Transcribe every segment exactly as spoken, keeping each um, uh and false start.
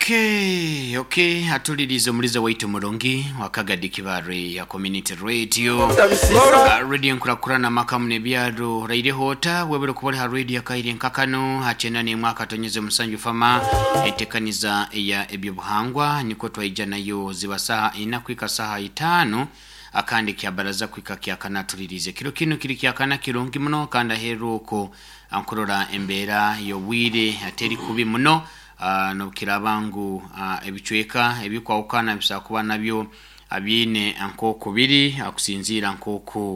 Okay, okay, atulirize omuliza waitu murungi wakagadi kibare ya community radio uh, radio nkurakurana makamu nebyaro raire hota webere kubole ha radio kaire nkakano hachena ne mwaka tonyeze musanju fama etekaniza ya ebyobuhangwa niko twaija nayo ziba saha ina kwika saha itano akandi kya baraza kwika kya kana tulirize kiro kino kiri kya kana kirungi muno kanda heruko ankurora embera yobwire ateri kubi muno uh, nokiraba ngu uh, ebicweka ebikwawukana bisobola kuba nabyo abyine nk'oku biri akusinziira nk'oku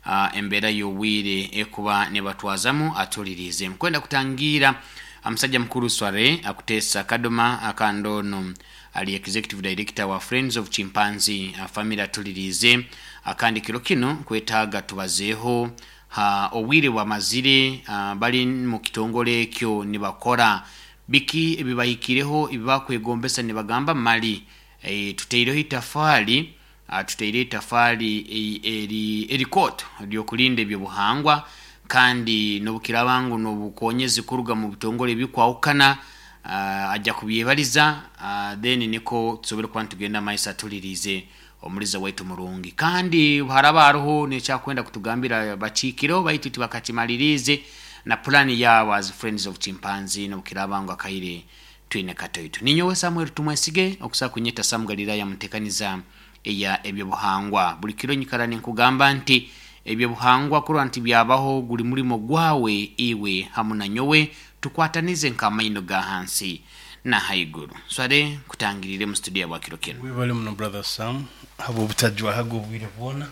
uh, embeera y'obwire ekuba nebatwazamu atulirize nkwenda kutangira omusajja mukuru sware akuteesa kadoma akandi ono ali executive director wa Friends of Chimpanzee uh, family atulirize akandi kiro kino nkwetaaga tubazeeho ha obwire bwamazire uh, bali mu kitongole ekyo nibakora biki ebibahikireho ebibakwegombesa nibagamba mali e, tuteireho itafaali uh, tuteireho itafaali eri erikoto eryokulinda ebyobuhangwa kandi nobukiraba ngu nobukonyezi kuruga mu bitongole ebikwawukana uh, ajja kubyebaliza uh, then niko tusobole kuba nitugenda maiso atulirize omuliza waitu murungi kandi haraba hariho nekyakwenda kutugambira bakiikireho baitu tibakakimalirize na pulani yabo as Friends of Chimpanzee nobukiraba ngu akaire twine katoito ninyowe Samuel Tumwesige okusa kunyeta Sam Galilaya mutekaniza eya ebyobuhangwa buli kiro nyikara ninkugamba nti ebyobuhangwa kurwa nti byabaho guli mulimo gwawe iwe hamu na nyowe tukwatanize nk'amaino ga hansi na haiguru sware kutangirire mu studio ya kiro kino. Webale muno, brother Sam, haba obutajwahaga obwire bwona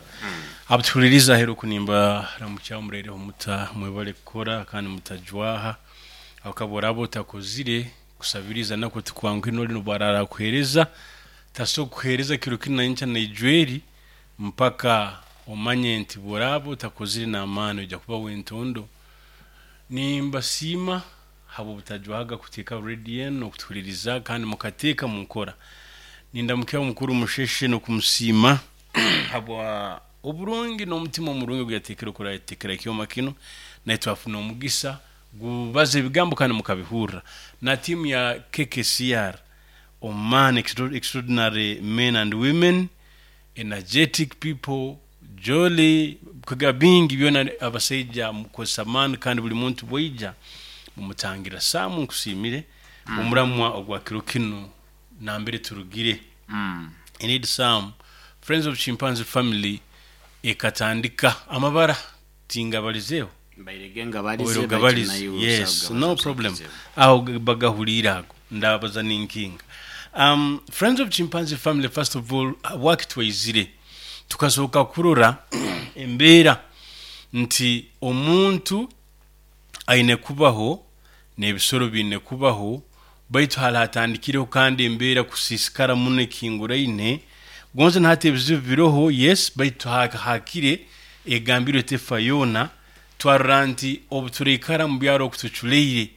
abutuhuliriza ahera okunimba ramukya omureireho muta mwebale kukora kandi mutajwaha akaba oraba otakozire kusabiriza nako tikwanguhi noli nobwarara kuhereza taso kuhereza kiro kinu nankya naijweri mpaka omanye nti bworaba otakozire n'amaani ojja kuba wentondo. Nimbasiima haba obutajwahaga kuteeka radio enu okutuhuliriza kandi mukateeka munkora. Nindamukya omukuru Musheshe n'okumusiima habwa oburungi n'omutima omurungi oguyateekere okurateekera ekyoma kino naye twafuna omugisa gubaza ebigambo kandi mukabihurra na tiimu ya K K C R oman extraordinary men and women, energetic people, jolly kwega bingi byona abasaija mukozesa amaani kandi buli muntu bwaija mumutangira. Saamu, nkusiimire omuramwa ogwa kiro kino nambere turugire. mm. Indeed, Sam, Friends of Chimpanzee Family ekatandika amabara tingabalizeeho. Bairege nga balize. Oiro gabalize, yes, no problem, aho bagahulire ago ndabaza ninkinga. um, friends of Chimpanzee Family, first of all, wakitwaizire tukasooka kurora embeera nti omuntu aine kubaho n'ebisoro biine kubaho baitu hali hatandikireho kandi embeera kusiisikara muno ekinguraine gonze nahati ebizibu biroho, yes, baitu ha- hakire egambirwe tefa yoona. Twarora nti obu turaikara mu byaro okutuculeire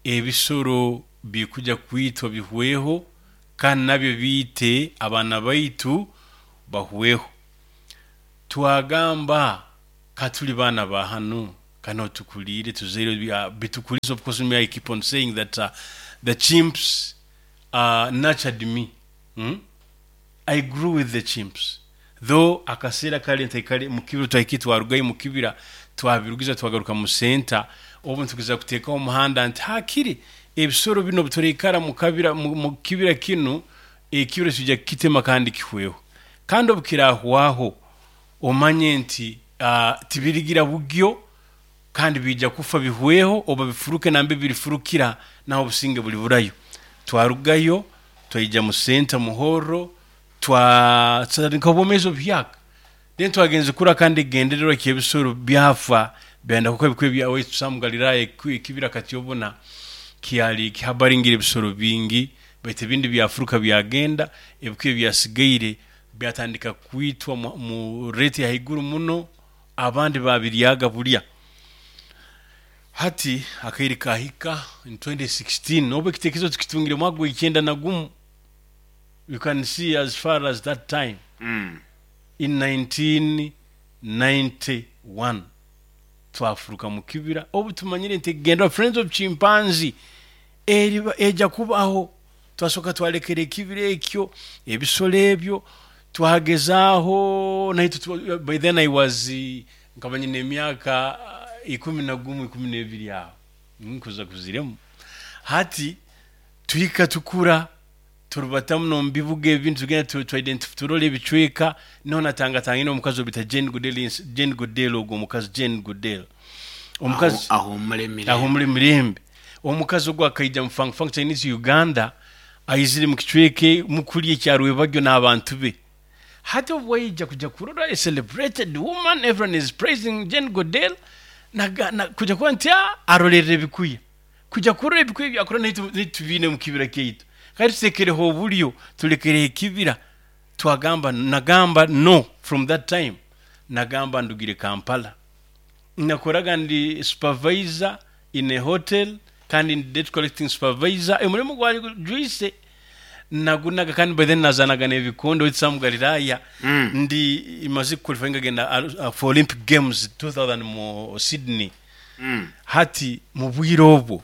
ebisoro bikuja kwitwa bihweho kandi nabyo biite abaana baitu bahweho. Twagamba katuli baana ba hanu kano tukulire tuzaire bya- bitukulize. Of course, me, I keep on saying that uh, the chimps uh, nurtured me, hmm? I grew with the chimps, though akaseera kale ntaikale mu kibira twahiki twarugayo mu kibira twabirugiza twagaruka mu senta obu ntugeza kuteekaho omuhanda nti hakiri ebisoro bino bitureikara mu kabira mu mu kibira kinu ekibira kijja kukitema kandi kihweho kandi obu kirahwaho omanye nti uh, tibirigira bugyo kandi bijja kufa bihweho oba bifuruke nambe birifurukira naho obusinge buli burayo. Twarugayo twaija mu senta muhoro twatandika obwomeezi obuhyaka. Then twagenze kura kandi egendererwa kyebisoro byafa byenda kuko ebikwe byawe Sam Galilaya ekibira kati obona kyali kihabaringira ebisoro bingi baitu ebindi byafuruka byagenda ebikwe byasigaire byatandika kwitwa mu, mu rate ya haiguru muno abandi babiryaga bulya. Hati akaire kahika in twenty sixteen obu ekitekerezo tukitungire mwaka gwa ikyenda na gumu. You can see as far as that time mm. in nineteen ninety-one twafuruka mu kibira obu tumanyire nti genda Friends of Chimpanzee eriba ejja kubaho. Twasoka twalekera ekibira ekyo, ebisolo ebyo twagezaaho naitwe. By then I was eh, nkaba nyina emyaka eh, ikumi na gumu, ikumi n'ebiri aho nkuza kuziremu. Hati tuhika tukura, turubatamu nomu bibuga ebintu, tugenda tu- tu identify, turora ebicweka. Niho natangatangine omukazi obita Jane Goodell. Jane Goodell ogwo omukazi, Jane Goodell, omukazi aho mulemire. Aho muri mirembe. Omukazi ogwo akaija mu Fang Fang Chinese Uganda, aizire mu kicweke mukuli ekya Rwebagyo n'abantu be. Hati obwo waija kuja kurora a celebrated woman, everyone is praising Jane Goodell. Naga- na, kuja kuba nti "Ah, arolerera ebikuya." Kuja kurora ebikuya byakora, naitu tubiine mu kibira kyaitu, kandi tutekereho obulyo, tulekereho ekibira. Twagamba, nagamba no, from that time nagamba ndugire Kampala. Nakoraga ndi supervisor in a hotel, kandi ndi debt collecting supervisor. Emurimu gwali gujwise nagunaga, kandi by then nazanaga n'ebikondo witsamu Galilaya. Mm. Ndi imaze qualifying agenda uh, for Olympic Games two thousand mu Sydney. Mm. Hati mu bwire obwo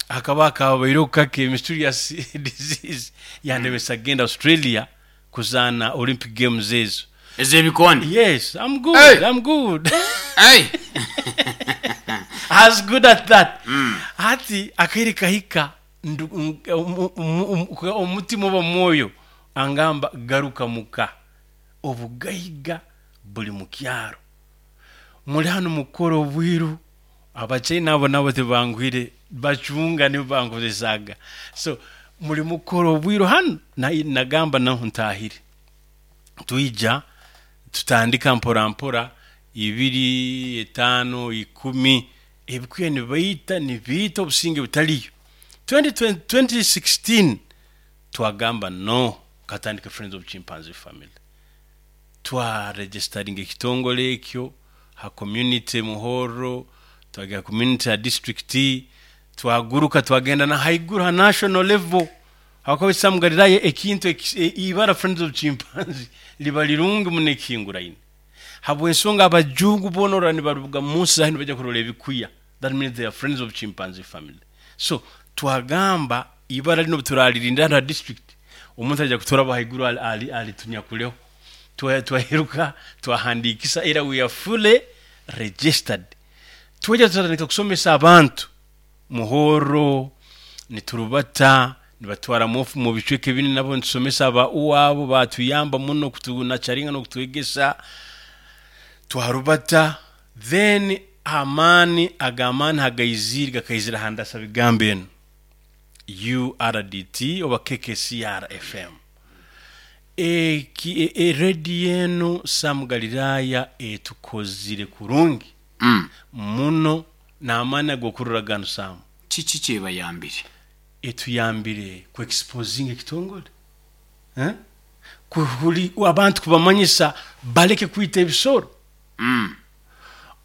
hakaba hakabaire kake mysterious disease yandemesa genda Australia kuzaana Olympic Games ezo. Ez'ebikonde? Yes, I'm good. Hey! I'm good. Hey! I was good at that. Hati akaire kahika, ndu- ng- omu- omu- omu- omutima oba mwoyo angamba, "Garuka muka, obugaiga buli mu kyaro, muli hano mukora obwiru." Abachina abo nabo tebangwire, bacunga nibo bankozesaga. So muli mukora obwiru hano. Na- nagamba naho ntahire. Twija tutandika mpora mpora, ibiri, etaano, ikumi, ebikuya nibaita, nibiita, obusinge butaliyo. twenty twenty sixteen twagamba no, katandika Friends of Chimpanzee Family. Twaregisteringa ekitongole ekyo ha community Muhoro, twagera community ya district, twaguruka twagenda na haiguru ha national level. Hakabisa Galilaya ekintu eki- e- ibara Friends of Chimpanzee liba lirungi muno ekihinguraine, habwensonga abajungu bonora nibaruga munsi zahi nibajya kurora ebikuya. That means they are friends of chimpanzee family. So twagamba ibara lino turalirinda hano ha district, omuntu ajya kuturaba haiguru ali, ali, ali tunyakuleho. Twa- twaheruka twahandikisa, era we are fully registered. Twajja tutandika kusomesa abantu Muhoro, niturubata nibatwara mu mu bicweka ebindi, nabo nitusomesa aba uwabo batuyamba muno kutunacharinga nokutwegesa. Twarubata, then amaani agamaani hagaizire gakaizira handasa bigambo eno U R D T oba K K C R F M. Eki e, e, rediyo eno Sam Galilaya etukozire kurungi Mm. muno n'amaani ag'okurora gano, Sam. Kiki kyebayambire? Etuyambire ku exposing ekitongole, eh? Kuhuli abantu kubamanyisa baleke kwita ebisoro. Mm.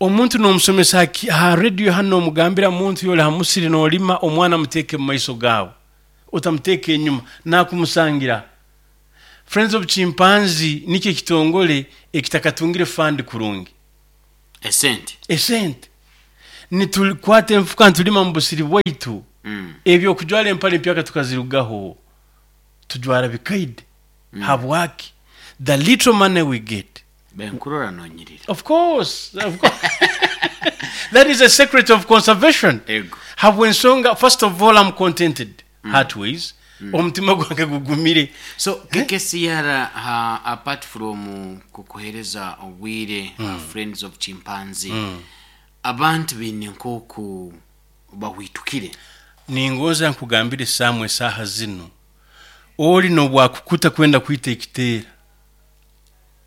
Omuntu nomusomesa ha- ha radio hano, omugambira muntu yoli hamusiri nolima, omwana muteeke mu maiso gaawe, otamuteeka enyuma nakumusangira. Friends of Chimpanzee nikyo ekitongole ekitakatungire fund kurungi. Esente? Esente. Nitukwata enfuka ntulima mu busiri bwaitu. Mm. Ebyo okujwara empale empyaka tukazirugaho, tujwara bikaide. mm. Habwaki? The little money we get. Benkurora nonyirira. Of course, of course. That is a secret of conservation. Ego. Habwensonga, first of all, I'm contented mm. heartways. mm. Omutima gwange gugumire. So K K C R, ha, apart from kukuhereza obwire, mm. Friends of Chimpanzee, mm. abantu baine nk'oku bahwitukire? Ningoza nkugambire samwe, esaaha zino oli nobwakukuta kwenda kwita ekiteera,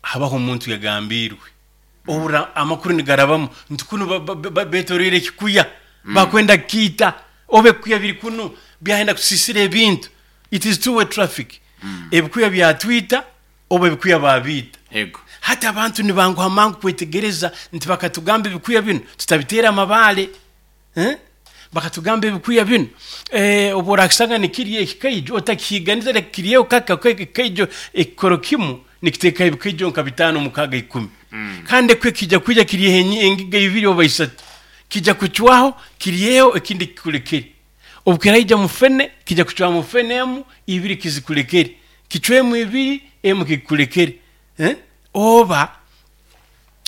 habaho omuntu yagambirwe obura amakuru nigarabamu nti kuno ba- ba- ba- betorire ekikuya, bakwenda kiita, oba ebikuya biri kuno byahenda kusisira ebintu. It is two way traffic. Ebikuya byatwita oba ebikuya babiita. Ego. Hati abantu nibanguha mangu kwetegereza nti bakatugamba ebikuya bino tutabiteera amabaale, eh? Bakatugamba ebikuya bino, eh, obu orakisanga nikirya ekikaijo otakihiganiza, reka kiryeho kaka ekikaijo. Ekikoro kimu nikiteekaho ebikaijo nka bitaano, mukaaga, ikumi. Kandi ekwe kijja kwija kiryeho enyi- engiga ibiri oba isatu, kijja kucwaho kiryeho ekindi kikulekere. Obukiraija mufene kijya kucwa mufene emu ibiri kizikulekere, kicwemu ibiri emu kikulekere, eh? Oba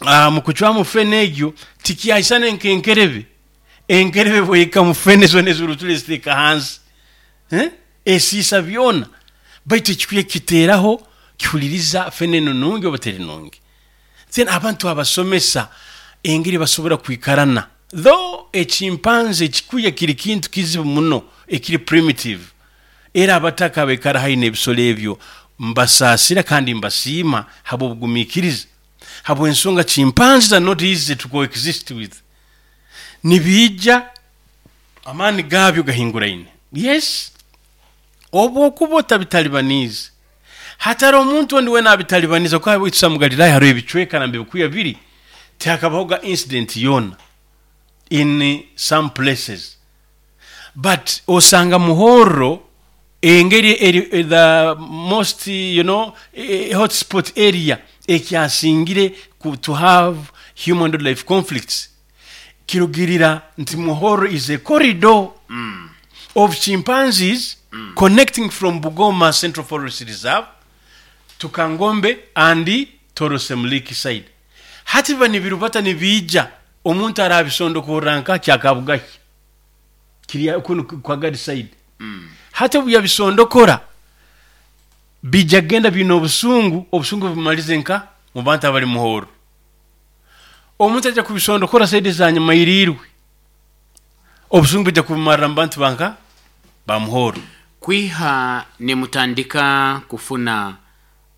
uh, mukucwamu fene egyo tikyaisana nkenkerebe. Enkerebe bweka mufene zona ezurutule ziteeka hansi, eh? Esiisa byona, baitu ekikwiye kiteeraho kihuliriza fene eno nungi oba teri nungi. Then abantu abasomesa engeri basobora kwikarana, though ekimpanzi ekikuya kiri kintu kizibu muno ekiri primitive. Era abataka abaikara haihi n'ebisolo ebyo mbasaasira kandi mbasiima habw'obugumiikiriza, habw'ensonga chimpanzees are not easy to coexist with. Nibiija amaani gaabyo gahinguraine. Yes, obwokuba otabitalibaniize, hatari omuntu ondi wena abitalibaniza, kuba witsa mu Galilaya hariho ebicweka nambe bikuya biri tihakabahoga incident yona in some places, but osanga Muhorro engeri eri the most, you know eh, hotspot area ekyasingire ku, to have human life conflicts, kirugirira nti Muhorro is a corridor mm. of chimpanzees mm. connecting from Bugoma Central Forest Reserve to Kangombe and Toro Semliki side. Hati biba nibirubata nibiija, omuntu arabisondokorra nka kyakabugahi kiri kuno kwagadi side mm. Hati obu yabisondokora bijja genda bina obusungu, obusungu bumalize nka mu bantu abali Muhoro. Omuntu ajja kubisondokora side za nyuma irirwe, obusungu bijja kubumarira mu bantu banka ba Muhoro. Kwiha nemutandika kufuna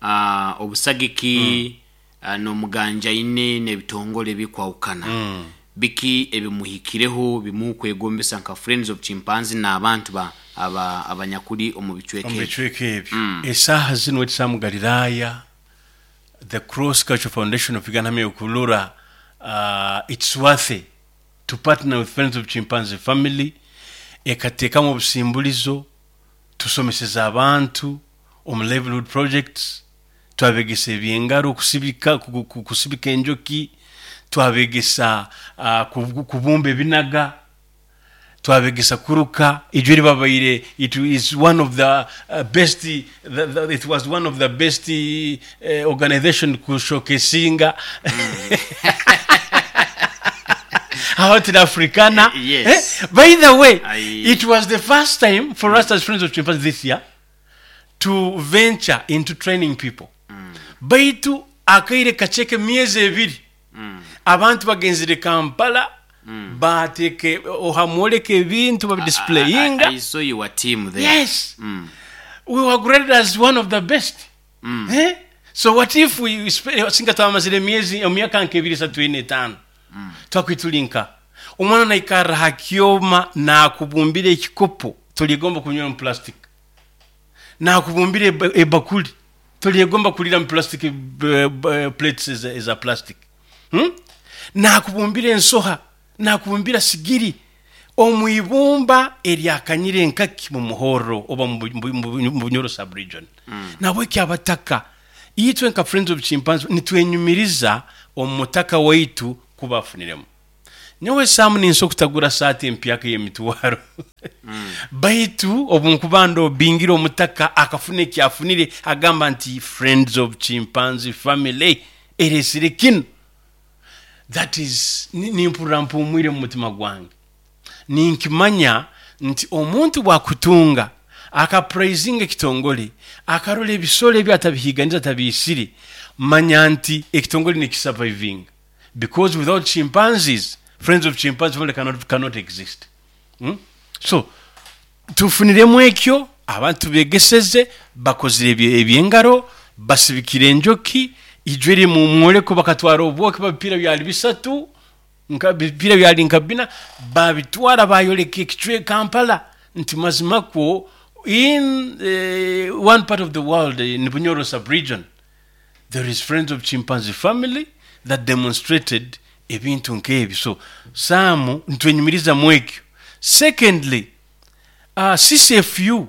uh, obusagiki mm. uh, n'omuganjaine n'ebitongole bikwawukana mm. biki ebimuhikireho bimukwegombesa nka Friends of Chimpanzee n'abantu ba aba abanyakuli omu bicweka omu bicweka ebyo mm. Esaaha zino wetisa mu Galilaya, the Cross Cultural Foundation of Uganda hamwe okulora uh, it's worth to partner with Friends of Chimpanzee Family, ekateekamu obusimbulizo tusomeseza abantu omu livelihood projects, twabegesa ebyengaro kusibika, kusibika enjoki, twabegesa uh, kubumba ebinaga, twabegesa kuruka ijwe ribabaire. It is one of the uh, best the, the, it was one of the best uh, organization kushowcasinga mm. out in Africana. Yes. Eh? By the way, I... it was the first time for mm. us as Friends of Chimpanzees this year to venture into training people. Mm. Baitu akaire kacheke miezi ebiri mm. abantu bagenzire Kampala mm. bateke ohamwoleka ebintu babidisplayinga. I, I, I saw your team there. Yes. Mm. We were graded as one of the best. Mm. Eh? So what if we singa twamazire miezi emyaka nkebiri esatu ine etaano mm. twakwitulinka omwana naikarra ha kyoma nakubumbira ekikopo toligomba kunywa mu plastic, nakubumbira ebakuli toligomba kulira mu plastic plates eza plastic, hmm? Nakubumbira ensoha, nakubumbira sigiri omwibumba eryakanyire enkaki mu Muhoro oba mu Bunyoro sub-region. Mm. Nabweki abataka itwe nka Friends of Chimpanzees nitwenyumiriza omutaka waitu kubafuniremu. Nyowe Samu ninso kutagura saati empyaka y'emitwaro mm. baitu obunkubando bingira omutaka akafuna ekyafunire agamba nti Friends of Chimpanzee Family eresire kino. That is nimpurira mpumwire mu mutima gwange, ninkimanya nti omuntu bwakutunga akapraisinga ekitongole akarola ebisolo ebyo atabihiganiza atabisire, manya nti ekitongole nikisurviving, because without chimpanzees Friends of Chimpanzees Family cannot, cannot exist. Hmm? So tufuniremu ekyo abantu begeseze bakozire ebyengaro basibikire enjoki ijwere mu mwoleko bakatwara obwoki babipira byali bisatu nka bipira byali nka bina babitwara bayoleka ekicwe Kampala nti mazima kwo in uh, one part of the world in Bunyoro sub-region there is Friends of Chimpanzee Family that demonstrated ebintu nk'ebyo. So Samu ntwenyumiriza mu ekyo. Secondly, uh, C C F U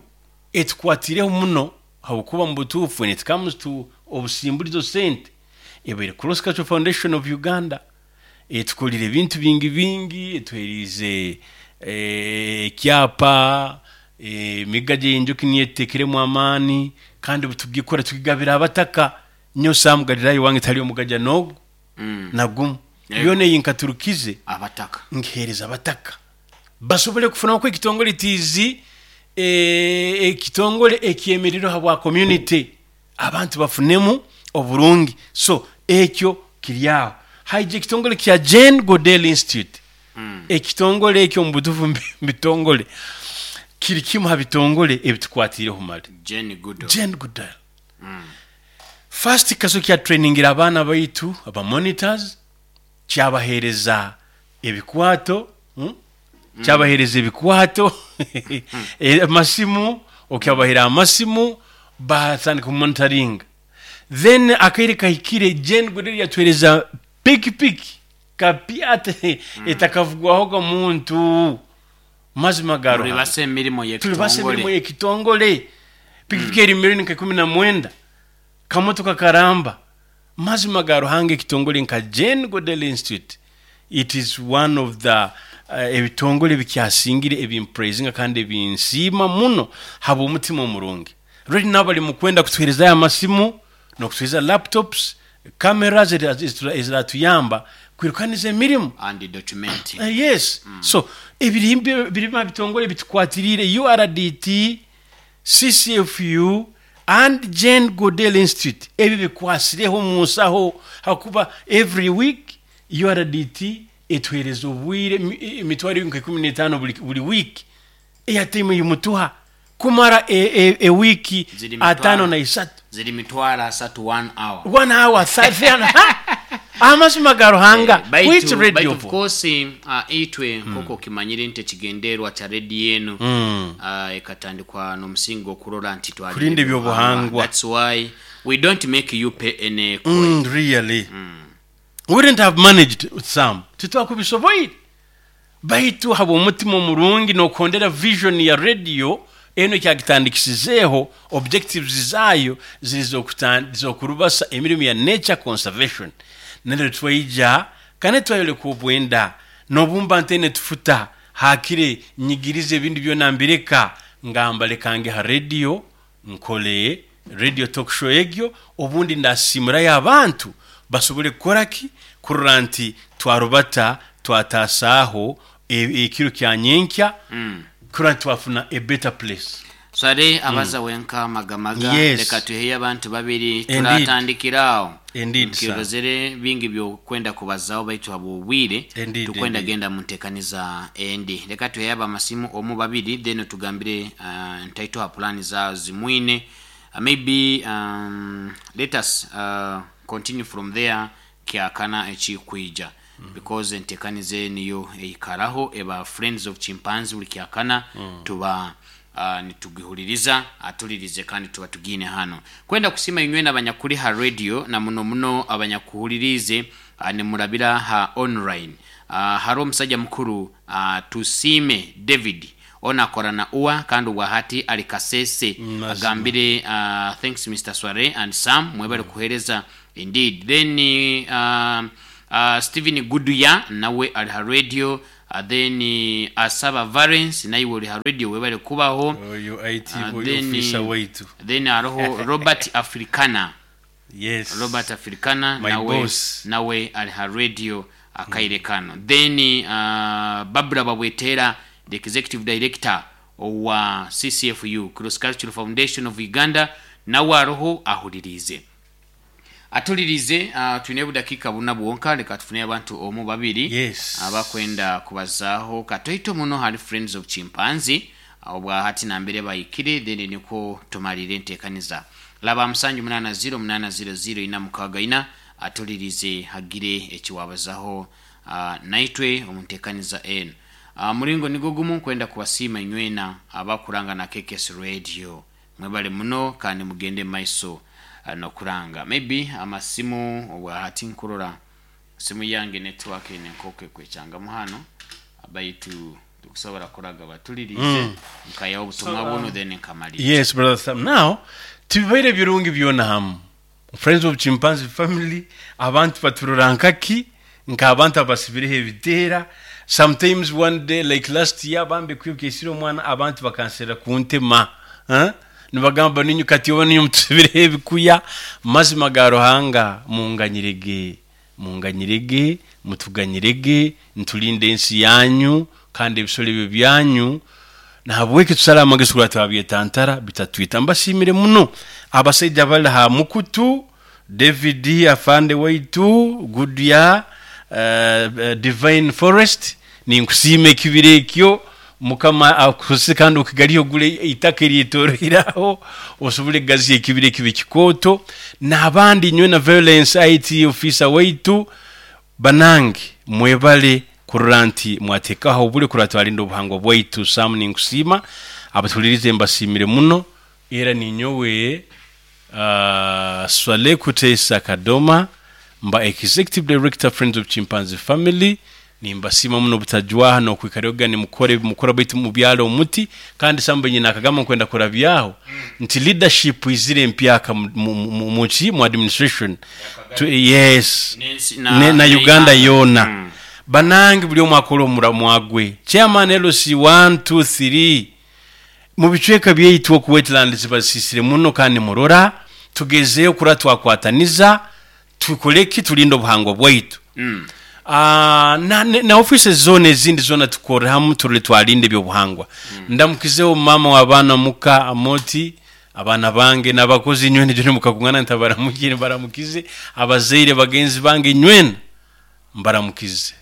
etukwatireho muno habwokuba mu butuufu when it comes to obusimbulizo sente ebaire Cross Cultural Foundation of Uganda etukolire ebintu bingi bingi, etuherize eh, ekyapa, emigajo enjoki niyo etutekeremu amaani, kandi butugikora tukigabira abataka. Nyo Sam Galilaayo wange tali omugaja n'ogu Mm. nagumu. Yego. Byona eyi nkaturukize abataka nkihereza abataka basobole kufunamu ekitongole tiizi, eh, ekitongole ekyemerero habwa community, abantu bafunemu oburungi. So ekyo kiri aho. Haija ekitongole kya Jane Goodall Institute. Mm. Ekitongole ekyo mu butuufu mbi- bitongole kiri kimu ha bitongole ebitukwatireho mali. Jane Goodall. Jane Goodall first kaso kya trainingira abaana baitu aba monitors, kyabahereza ebikwato, hmm? Kyabahereza ebikwato, Eh, amasimu, okyabahera amasimu batandika kumonitoringa. Then akaire kahikire Jane Goodall yatwereza pikipiki kapyate etakavugwahoga muntu, mazima ga Tuli Ruhanga. basa emirimu Tuli basa emirimu yekitongole. Yekitongole, pikipiki eri milioni nka ikumi na mwenda, kamotoka karamba. Mazima ga Ruhanga, ekitongole nka Jane Goodall Institute, it is one of the uh, ebitongole bikyasingire ebimpraisinga kandi ebinsiima muno habw'omutima omurungi. Right now bali mukwenda kutuherezayo amasimu n'okutuhereza laptops, cameras eziratuyamba kwirukaniza emirimu and documenting. Uh, yes mm. So ebirimbe birima bitongole bitukwatirire, U R D T, C C F U and Jane Goodall Institute, ebyo bikwasireho munsaho, hakuba every week U R D T etuhereza obwire emi- emitwaro nka ikumi n'etaano buli, buli week, eyatime yimutuha kumara e, e, e wiki Ziri mitwaro. Atano na isatu. Ziri mitwaro asatu one hour. One hour thirty. Amazima ga Ruhanga. Eh, baitu- Which radio? Baitu of course, uh, itwe nk'oku okimanyire nti ekigendererwa kya rediyo eno Mm. uh, ekatandikwa n'omusingi okurora nti twalinda Kulinda ebyobuhangwa. That's why we don't make you pay any coin. Mm, really we wouldn't have managed some, titwakubisoboire, baitu habw'omutima omurungi n'okondera vision ya radio eno kyagitandikisizeeho, objectives zaayo ziri z'okutan- z'okurubasa emirimu ya nature conservation. Neryo twaija kandi twayoleka obwenda n'obumba ntene tufuta hakire nyigirize ebindi byona mbireka, ngamba lekange ha radio nkole radio talk show egyo, obundi ndasimurayo abantu basobole kukoraki, kurora nti twarubata twatasaaho e- ekiro kya nyenkya, kurora nti twafuna a better place. Swale abaza wenka magamaga. Yes. Leka tuheyo abantu babiri Indeed. turatandikira awo. Indeed, sir. Nkirozere bingi byokwenda kubazaho, baitu habwobwire Indeed, tukwenda indeed. genda muntekaniza endi. Leka tuheyo abamasimu omu babiri, then tugambire uh, ntaito ha plani za zimwine. uh, maybe um, let us uh, continue from there kyakana ekikwija, because entekaniza niyo eikaraho eba Friends of Chimpanzee buli kyakana tuba uh, nitugihuliriza, atulirize kandi tuba tugine hano kwenda kusima inywe n'abanyakuri ha radio na muno muno abanyakuhulirize uh, nimurabira ha online. uh, hari omusajja mukuru, uh, Tusime David, onakora na uwa kandi ubwahati ali Kasese. Mazima. Agambire, uh, "Thanks Mister Sware and Sam, mwebale kuhereza." Indeed. Then uh, uh, Stephen Guduya nawe ali ha radio. uh, then uh, Asaba Valence nawe uri ha radio, webale kubaho. Oyo I T Uh, oyo then, officer waitu. Then hariho Robert Africana. Yes. Robert Africana My nawe, boss. nawe ali ha radio akaire kano. Then uh, Babura Babwetera, the executive director wa C C F U, Cross Cultural Foundation of Uganda, nawe aroho ahulirize, atulirize. uh, tulina budakiika buna bwonka, leka tufune abantu omu babiri Yes. abakwenda kubazaaho katoito muno hali Friends of Chimpanzee obwahati nambere bayikire, then niko tumalire enteekaniza. Laba musanju munana zero munana zero zero ina mukaaga ina, atulirize hagire ekiwabazaho uh, naitwe omunteekaniza eno. uh, muringo nigo gumu kwenda kubasiima inywena abakuranga na K K S Radio, mwebale muno kandi mugende maiso uh, nokuranga. Maybe amasimu obwahati nkurora simu yange network ene nkoke kwechangamu hano, baitu tukusobola kuraga batulirize mm. nkayaho obutumwa buno, then nkamalira. Yes, brother Sam. Now tibibaire birungi byona hamu Friends of Chimpanzee family, abantu baturora nkaki, nk'abantu abasibireho ebiteera. Sometimes one day like last year bambi kwibukisira omwana, abantu bakansera kuntema, huh? Nibagamba ninyu kati oba ninyu mutusibireho ebikuya. Mazima ga Ruhanga, munganyirege, munganyirege, mutuganyirege, ntulinde ensi yanyu kandi ebisolo ebyo byanyu. Nahabweki tusale amagezi kurora twabyetantara bitatwita. Mbasiimire muno abasaija bali ha mukutu, David afande waitu Goodyear, uh, uh, Divine Forest, ninkusiima ekibira ekyo. Mukama akukozese kandi okigaliho ogule itaka eryetoroiraho osobole kugaziya ekibira ekibe kikooto. N'abandi nyowe na violence I T officer waitu, banange mwebale kurora nti mwateekaho obule kurora twalinda obuhangwa bwaitu. Sam, ninkusiima, abatulirize mbasiimire muno. Era ninyowe uh, Swale Kutesa Kadoma, mba executive director, Friends of Chimpanzee Family. Nimbasiima muno obutajwaha n'okwikaraga nimukora mukora baitu mubyalo omuti. Kandi samba nyina akagamba nkwenda kurabyaho nti leadership izire empyaka mu- mu- mu- muki mu administration Tu- yes N'ensi- ne, na Uganda yoona. Mm. Banange buli omu akola omuramwa gwe. Chairman L C one two three mu bicweka byaitu oku wetland zibasisire muno, kandi murora tugezeyo kura twakwataniza tukoleki tulinde obuhangwa bwaitu. Mm. Ah, na, na, na offices zona ezindi zona tukore hamu turole twalinde ebyobuhangwa. Ndamukizeho mama w'abaana muka Amoti, abaana bange n'abakozi nywena joni mukakungana ntabaramukire, baramukize abazaire bagenzi bange nywena mbaramukize,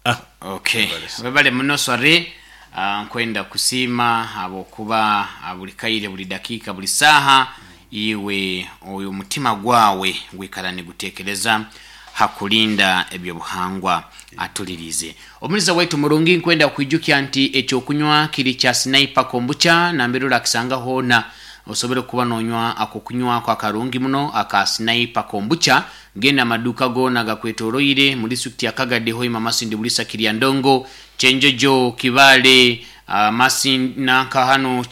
ah. Okay, webale muno Sware. uh, nkwenda kusiima habwokuba ah, buli kaire, buli dakiika, buli saaha iwe oyo omutima gwawe gwikara nigutekereza hakulinda ebyobuhangwa. Atulirize omuliza waitu murungi, nkwenda kwijukya nti ekyokunywa kiri kya Sniper Kombucha, nambere orakisanga hoona osobole kuba nonywa ako kunywako akarungi muno aka Sniper Kombucha. Genda amaduka gona gakwetoroire mu disitulikiti ya Kagadi, Hoima, Masindi, Bulisa, Kiryandongo, Kyenjojo, Kibale, uh, Masindi nanka hano uh,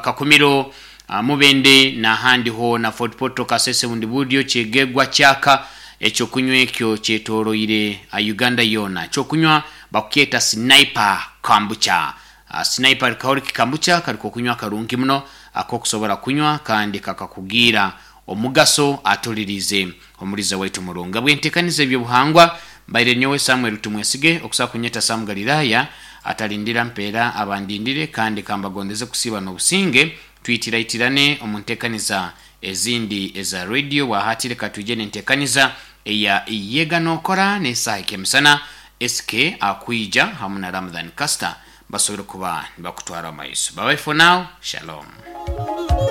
Kakumiro, uh, Mubende n'ahandi hoona, Fort Portal, Kasese, Bundibugyo, Kyegegwa, Kyaka. Ekyokunywa ekyo kyetoroire uh, Uganda yona. Ekyokunywa bakukyeta Sniper Kombucha. uh, sniper kahoriki kombucha kaliko kunywa karungi muno akokusobora kunywa kandi kakakugira omugaso. Atulirize omuliza waitu murunga bwentekaniza ebyobuhangwa, mbaire nyowe Samuel Tumwesige, okusobola kunyeta Samu Galilaya atalindira mpeera abandindire, kandi kambagondeze kusiba n'obusinge. Twitiraitirane omu ntekaniza ezindi eza radio. Bwahatire katwije nentekaniza eya Yega Nokora n'esaaha ekemisana, S K akwija hamu na Ramadhan Caster basobole kuba nibakutwara amaiso. Bye bye for now, shalom.